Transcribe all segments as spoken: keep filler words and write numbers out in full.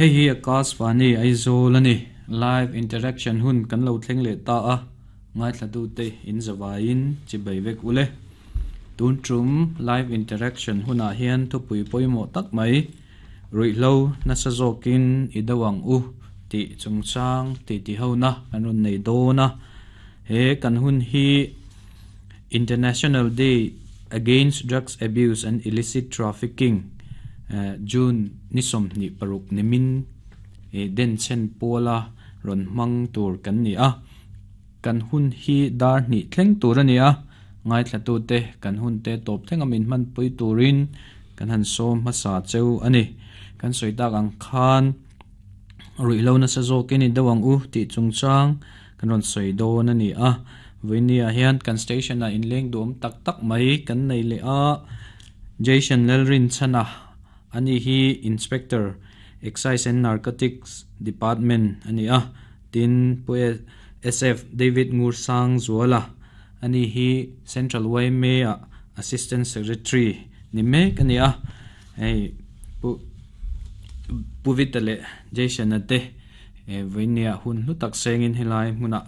Hei hi Akashvani Aizawl ani. Live interaction hun kan lo thleng leh ta a. Ngaithla te in zawaiin chibai vek ule. Tun tum live interaction hunah hian thupui pawimawh tak mai ruihhlo nasa zawkin i do ang u tih chungchang ti ti ho na kan rawn nei dawn a. He kan hun hi International Day Against Drugs Abuse and Illicit Trafficking June ni sawmhnih paruk nimin den chen pawla rawn hmang tur kan ni a. Kan hun hi dar hnih thleng tur ani a. Ngaithla tu te kan hun te tawp thlenga min hman pui turin kan han sawm hmasa cheu ani. Kan sawi tak ang khan ruihhlo nasa zawkin i do ang u tih chungchang kan rawn sawi dawn ani a. Vawinia hian kan station ah inleng duam tak tak mai kan nei leh a. Jason Lalrin Chana ani hi Inspector Excise and Narcotics Department ani a. Tin pu S F David Ngursang Zuala ani hi Central Y M A ah Assistant Secretary ni mek ani a. Hei pu Puvita leh Jason ate vawinia hun hlu tak sengin helai hmunah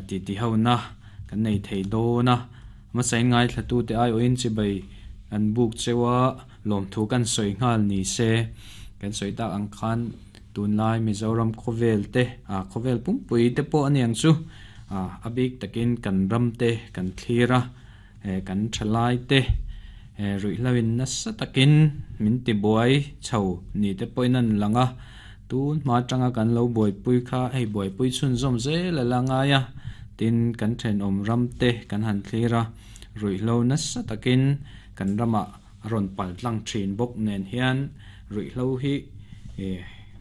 ti ti ho na kan nei thei dawn a. Hmasa in ngaithla tu te ai awhin chibai kan buk chewa lawm thu kan sawi nghal ni se. Kan sawi tak ang khan tunlai Mizoram khawvel te a khawvel pumpui te pawh ani ang chu a a bik takin kan ram te kan thlir a kan thalai te ruihhlo in nasa takin min ti buai chho ni te pawhin an lang a. Tun hma atanga kan lo buaipui kha hei buaipui chhunzawm zel a la ngai a. Tin kan thenawm ram te kan han thlir a. Ruihhlo nasa takin kan ramah a rawn pal tlang thin bawk nen hian ruihhlo hi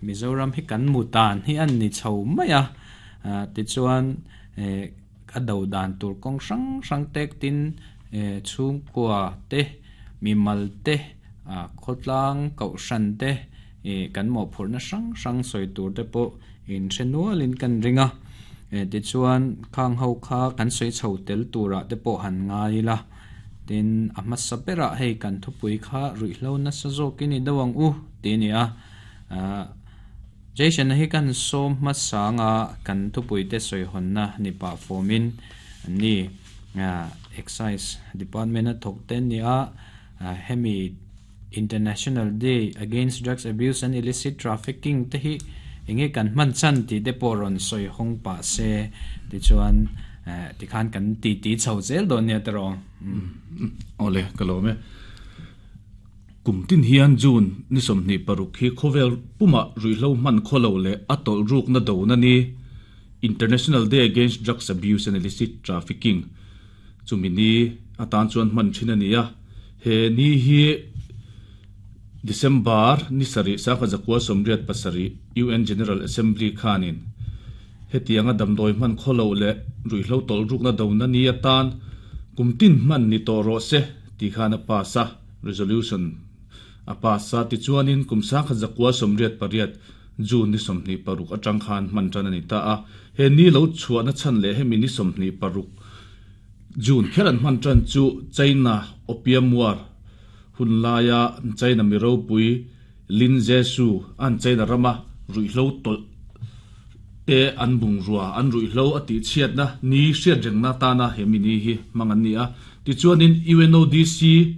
Mizoram hi kan mu tan hi an ni chho mai a. Tichuan a do dan tur kawng hrang hrang tek tin chhungkua te mimal te khawtlang kohhran te kan mawhphurhna hrang hrang sawi tur te pawh in hre nualin kan ring a. Tichuan khang ho kha kan sawi chho tel turah te pawh han ngai ila. Tin a hmasa berah hei kan thupui kha ruihhlo nasa zawkin i do ang u ti ani a. Jason hi kan sawm hmasa anga kan thupui te sawi hawnna ni pah formin ani Excise Department a thawk te ani a. Hemi International Day Against Drugs Abuse and Illicit Trafficking te hi enge kan hman chan ti te pawh rawn sawi hawng pah se. Tichuan tikhan kan ti ti chho zel dawn nia tiraw. Awle ka lo me. Kum tin hian June ni sawmhnih paruk hi khawvel puma ruihhlo hman khawlo leh a tawlh ruk na do na ni International Day Against Drugs Abuse and Illicit Trafficking chumi ni atan chuan hman thin ani a. He ni hi December ni sarih sangkhat zakua sawmriat pasarih U N General Assembly khanin hetianga damdawi hman khawlo leh ruihhlo tawlh ruk na do na ni atan kum tin hman ni tawh rawh se ti khan a pass a resolution a pass a. Tichuanin kum sangkhat zakua sawmriat pariat June ni sawmhnih paruk atang khan hman tan ani ta a. He ni lo chhuahna chan leh hemi ni sawmhnih paruk June kher an hman tan chu China Opium War hun laia China miropui Lin Jesu an China rama ruihhlo tawlh te an bung rua an ruihhlo a tih chhiatna ni hriat rengna tana hemi ni hi hmang an ni a. Tichuanin U N O D C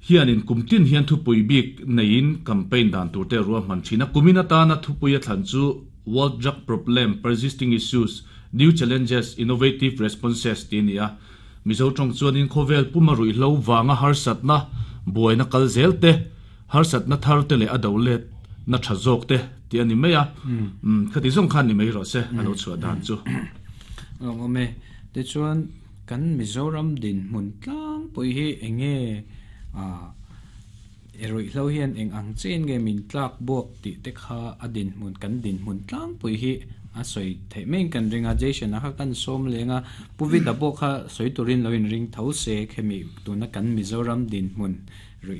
hianin kum tin hian thupui bik neiin campaign dan tur te ruah hman thin a. Kumin atana thupui a thlan chu World Drug Problem Persisting Issues New Challenges Innovative Responses ti ani a. Mizo tawng chuanin khawvel puma ruihhlo wanga harsatna buaina kal zel te harsatna thar te leh a do let na tha zawk te ti ani mai a. Khati zawng khan ni mai rawh se a lo chhuah dan chu. Awm e. Tichuan kan Mizoram din hmun tlang pui hi enge a ruihhlo hian eng ang chen nge min tlak buak tih te kha a din hmun kan din hmun tlang pui hi a sawi theih mai kan ringa. Jason a kha kan sawm lenga Puvita pawh kha sawi turin lo in ring tho se khemi tuna kan Mizoram din hmun